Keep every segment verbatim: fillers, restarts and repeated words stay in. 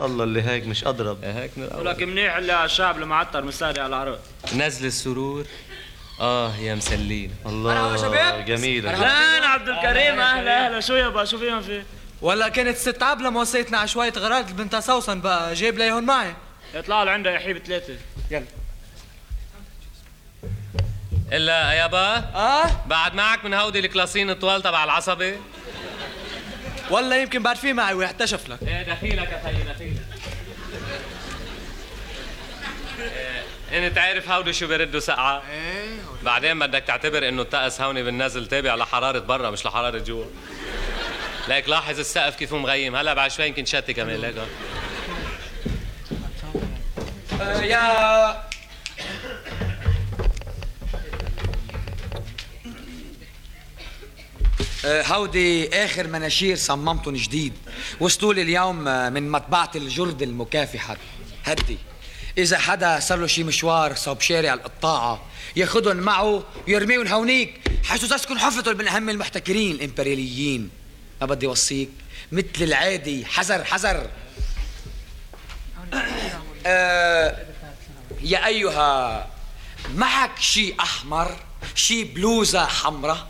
الله اللي هيك مش أضرب. هيك من الأول. ولك منيح اللي الشعب المعطر مساري على العرض. نزل السرور. اه يا مسلين. الله جميلة. اهلا عبد الكريم، اهلا اهلا. شو يابا شو فيهم فيه؟ ولا كانت ست عبلة موصيتنا على شوية غراض البنت سوسن بقى جايب ليهن معي. يطلعوا لعندها يا حبيب ثلاثة. يلا. الا يابا اه بعد معك من هودي الكلاسين الطوال تبع العصبي؟ ولا يمكن بعد في معي ويحتشف لك. ايه دخيلك يا خيي دخيلك. إيه، انت عارف هودي شو بيردوا سقعة؟ ايه بعدين بدك تعتبر انه الطقس هوني بالنازل تابع لحرارة برا مش لحرارة جوا. ليك لاحظ السقف كيف مغيم، هلا بعد شوي يمكن شتي كمان ليك. آه يا هودي آخر مناشير صممتن جديد، وصلوا لي اليوم من مطبعة الجرد المكافحة. هدي إذا حدا صار له شي مشوار صوب شارع القطاعة ياخدن معه ويرميون هونيك حيث تسكن حفتن من أهم المحتكرين الإمبرياليين. ما بدي وصيك مثل العادي حذر حذر. آه يا أيها، معك شي أحمر، شي بلوزة حمرة؟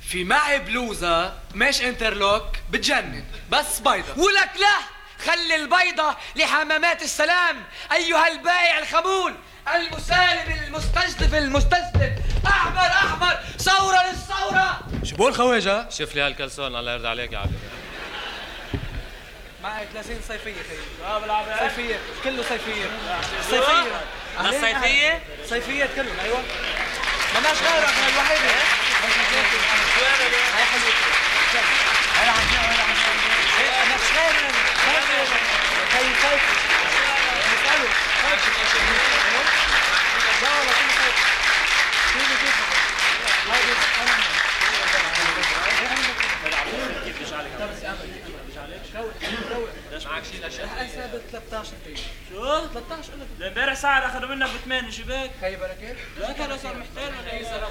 في معي بلوزة مش انترلوك بتجنن بس بيضة. ولك لا، خلي البيضة لحمامات السلام أيها البائع الخمول المسالم المستجدف المستسلم. أحمر أحمر، ثورة للثورة. شو بقول خواجة؟ شوف لي هالكلسون الله يرضى عليك يا عبد. معي ثلاثين صيفية خيي. اه بالعافية. صيفية كله صيفية. صيفية. الصيفية؟ صيفية كلهم ايوه. مالناش غيرك من الوحيدة. هاي حلوة. هاي عندنا هاي عندنا. مالناش غيرك. هاي صيفي. اسألوا. لا والله كله صيفي. كله كيف. معك شيء الاشياء؟ حساب ثلاثة عشر دقيقة. شو؟ ثلاثة عشر قلت. ده امبارح سعر اخذوا منك بثمانية، شو بك؟ خي بركة. لا كان صار محتال ولا اي صار.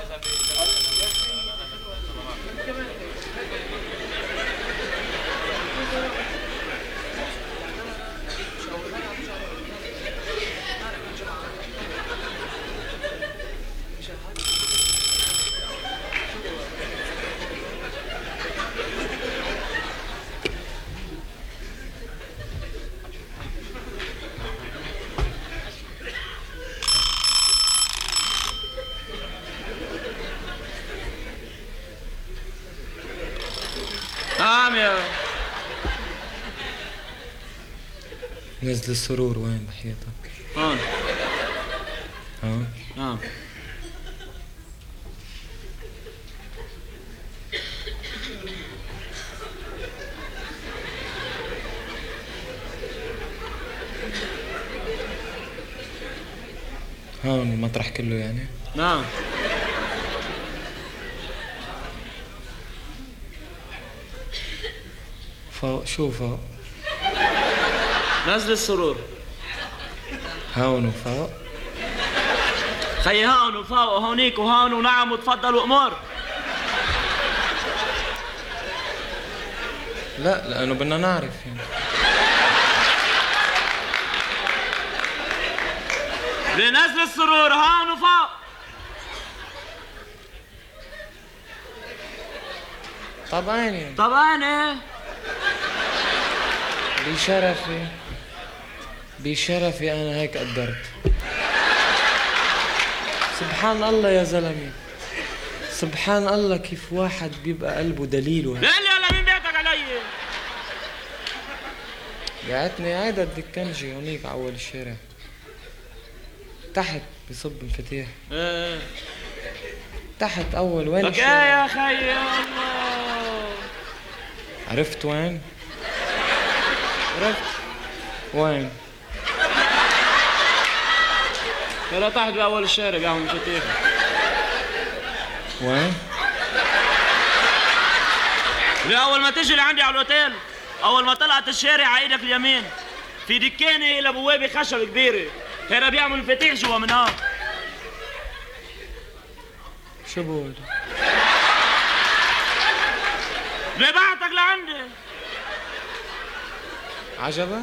نعم يا نزل السرور وين بحياتك؟ هون. ها؟ نعم. هون المطرح كله يعني؟ نعم. فوق شو فوق؟ نزل السرور. هون وفوق؟ خي هون وفوق وهونيك وهون ونعم وتفضل وامور. لا لأنه بدنا نعرف يعني. لنزل السرور هون وفوق. طبعا يعني. طبعا ايه. بشرفي بشرفي أنا هيك قدرت. سبحان الله يا زلمة، سبحان الله كيف واحد بيبقى قلبه دليل وهيك. لا لا لا مين بيعتك علي؟ قعدتني قاعدة الدكنجي هونيك على أول الشارع تحت بصب مفاتيح. ايه تحت أول وين لك ايه الشارع؟ يا خي الله. عرفت وين؟ عرفت وين؟ لا تحت بأول الشارع بيعمل مفاتيح. وين؟ أول ما تجي لعندي على الأوتيل، أول ما طلعت الشارع على إيدك اليمين في دكانة إلى بوابة خشب كبيرة، هنا بيعمل مفاتيح جوا من هون. شو بقول؟ ببعتك لعندي. عجبك؟